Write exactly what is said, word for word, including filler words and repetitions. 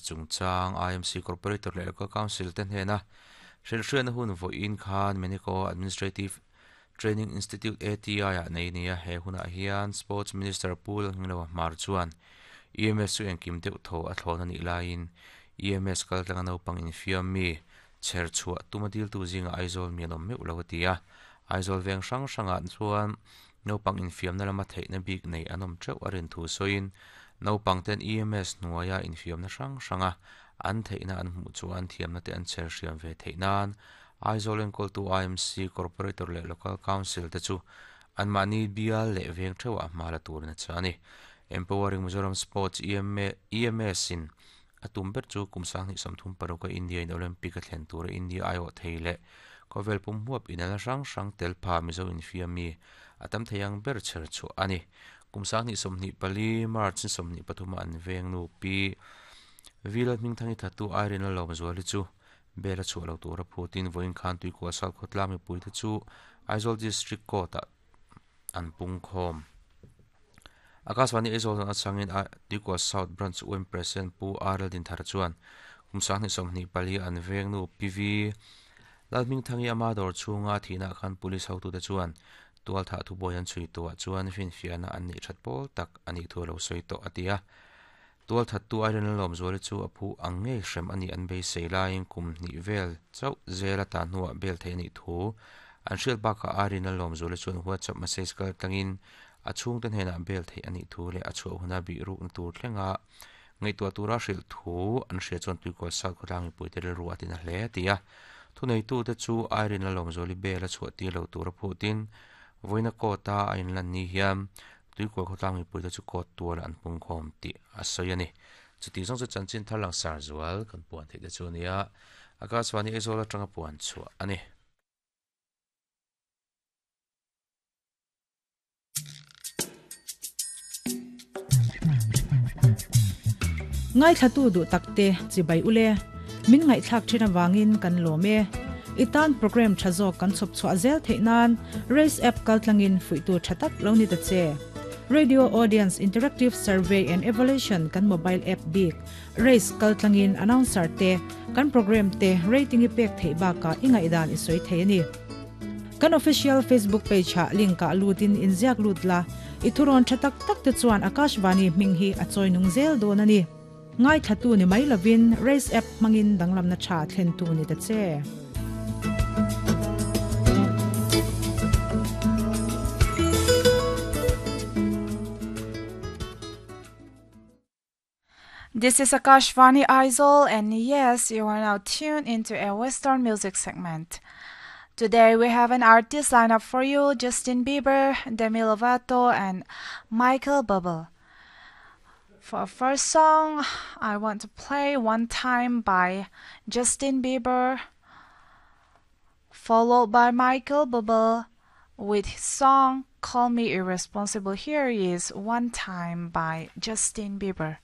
chungchang I M C Corporator leh Local Council te hnena hrilhhriatna hun vawiin khan Medico Administrative Training Institute A T I ah nei nia he hunah hian Sports Minister Pu Lalngilo Hmar chuan E M S chu engkim deuh thaw a thlawn anih laiin E M S kal tlanga naupang infiam mi chher chhuah tuma dil tu zinga Aizawl mi an awm meuh lo a ti a Aizawl veng hrang hrangah chuan naupang infiamna lama theihna bik nei an awm teuh a rin thu sawiin naupang ten E M S hnuaia infiamna hrang hranga an theihna an hmuh chuan thiamna te an chher hriam ve theih nan Aizawl enkawltu I M C Corporator leh Local Council te chu anmahni bial leh veng theuhah hma la turin a cha a ni. Empowering Mizoram Sports E M A, E M S in a tum ber chu kum sang hnih sawmthum paruk a India in Olympic a thlen tura India ai awh thei leh khawvel pum huap inal hrang hrang tel pha Mizo infiam mi a tam thei ang ber chher chhuah a ni. Kum sang hnih sawmhnih pali March in sawmhnih pathuma an veng nu pi Vila hmingthangi thatu Irene a lawm zual hi chu bel a chhuah lo tura phutin vawiin khan tuikual sal khawtla mipui te chu Aizawl District Court ah an pung khawm. Akashvani Aizawl zan atangin Tuikual South Branch U M President Pu R L Dinthar chuan kum sang hnih sawmhnih pali an veng nu P V Lalhmingthangi ama dawr chhunga thihna khan police hotu te chuan tual thah thubuai an chhui tuah chuan finfiahna an neih that pawl tak anih thu lo sawi tawh a ti a. Tual that tu Irene lawm zuali chu a phu ang ngei hrem ani an beisei laiin kum hnih vel chauh zel a ta hnuah bel thei anih thu an hriat bakah Irene lawm zuali chuan WhatsApp message kal tlangin a chhung te hnenah bel thei anih thu leh a chhuah huna bih rukna tur thlenga ngaihtuah tura hrilh thu an hria chuan tuikual sal khawtlang mipui te rilru a tina hle a ti a. Thuneitu te chu Irene lawm zuali bel a chhuah tir lo tura phutin vawiina court a a inlan ni hian tuikual khawtlang mipui te chu court tual an pung khawm tih a sawi a ni. Chuti zawng chu chanchin thar lang sar zual kan puan theih te chu ania Akashvani Aizawl atanga puan chhuah a ni. Ngai thlatu du takte chibai ule min ngai thlak thina wangin kan lome itan program thazo kan chop chwa zel theinan race app kaltlangin fuitu thatak lo ni ta che Radio Audience Interactive Survey and Evaluation kan mobile app big race kaltlangin announcer te kan program te rating ipek thei ba ka ingai dan isoi thei ani kan official Facebook page ha link ka lutin inziak lutla ithuron thatak tak te chuan Akashvani minghi achoi nung zel don ani ngai thatu ni mai lovin race app mangin danglam na tha thlen tu ni ta che. This is Akashvani Aizawl, and yes, you are now tuned into a Western music segment. Today we have an artist lineup for you: Justin Bieber, Demi Lovato, and Michael Bublé. For our first song, I want to play One Time by Justin Bieber, followed by Michael Bublé with his song Call Me Irresponsible. Here is One Time by Justin Bieber.